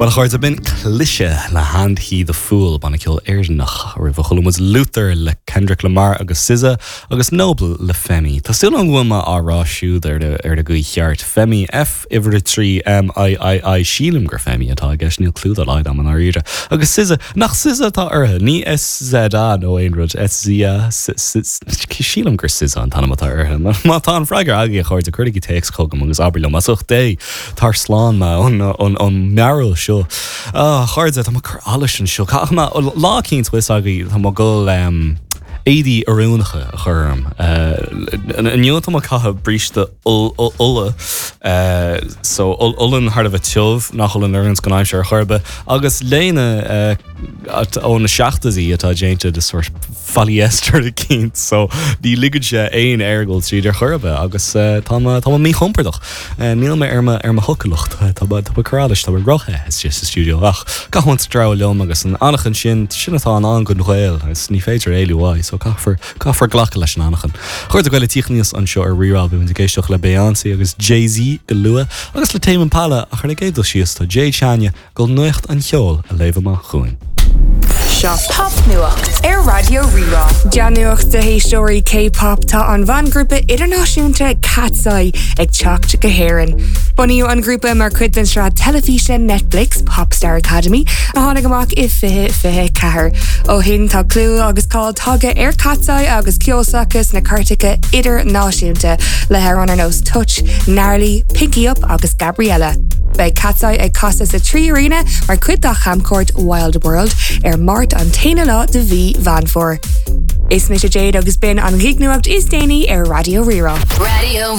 Bhuel a chairde, b'in Cliché le And He The Fool, banna ceoil Éireannach. Roimhe chuala muid Luther le Kendrick Lamar agus SZA agus Noble le Femi. Tá súil agam go bhfuil mé á rá siúd ar ar an gcaoi cheart. Femi, F uimhir a 3 M I I I Sílim gur Femi atá i gceist, níl clú dá laghad agam i ndáiríre. Agus SZA, nach SZA atá uirthi? Ní SZA nó aon rud, SZA, sílim gur SZA an t-ainm atá uirthi. Má tá an freagra agaibh a chairde, cuirigí téacs chugam agus abair liom as ucht Dé! Tar slán mé ón mearbhall seo. A chairde, tá mé ag cur allais anseo. Caithfidh mé, lá eicínt, bhfuil fhios agaibh, tá mé ag dul éadaí oiriúnacha a chur orm. Inniu tá mé ag caitheamh bríste olla, so olann thar a bheith tiubh, nach olann oireanns don aimsir ar chor ar bith, agus léine ó na seachtóidí atá déanta de sórt polyester eicínt so ní ligeann sé aon aer dul tríd ar chor ar bith agus tá mé tá mé míchompordach. Níl mé ar mo ar mo shocúlacht. Tá mé tá mé ag cur allais, tá mé róthe istigh sa stiúideo ach caithfidh muid treabhadh liom agus an anachain sin, sin atá i ndán don Ghael agus ní féidir éalú uaidh so caithfear caithfear glacadh leis an anachain. A chairde ag tíocht aníos anseo ar Rí-Rá beidh muid ag éisteacht le Beyoncé agus Jay-Z go luath agus le Tame Impala ach ar an gcéad dul síos tá Jade Seáine Ag dul nuacht an cheoil a léamh amach chugainn. Seo Popnuacht ar Raidió Rí-Rá. Dea-nuacht do éisteoirí K-pop, tá an bhangrúpa idirnáisiúnta Katseye ag teacht go hÉirinn. Bunaíodh an grúpa mar chuid den tsraith teilifíse Netflix Popstar Academy a tháinig amach i 2024. Ó shin tá clú agus cáil tagtha ar Katseye agus ceol s'acu sna cairteacha idirnáisiúnta le hamhráin ar nós Touch, Gnarly, Pinky Up agus Gabriella. Beidh Katseye ag casadh sa 3Arena mar chuid dá chamchuairt Wild World ar Máirt an t-aonú lá de mhí Mheán Fómhair. Is mise Jade agus b'in an ghignuacht is déanaí ar Raidió Rí-Rá. Raidió.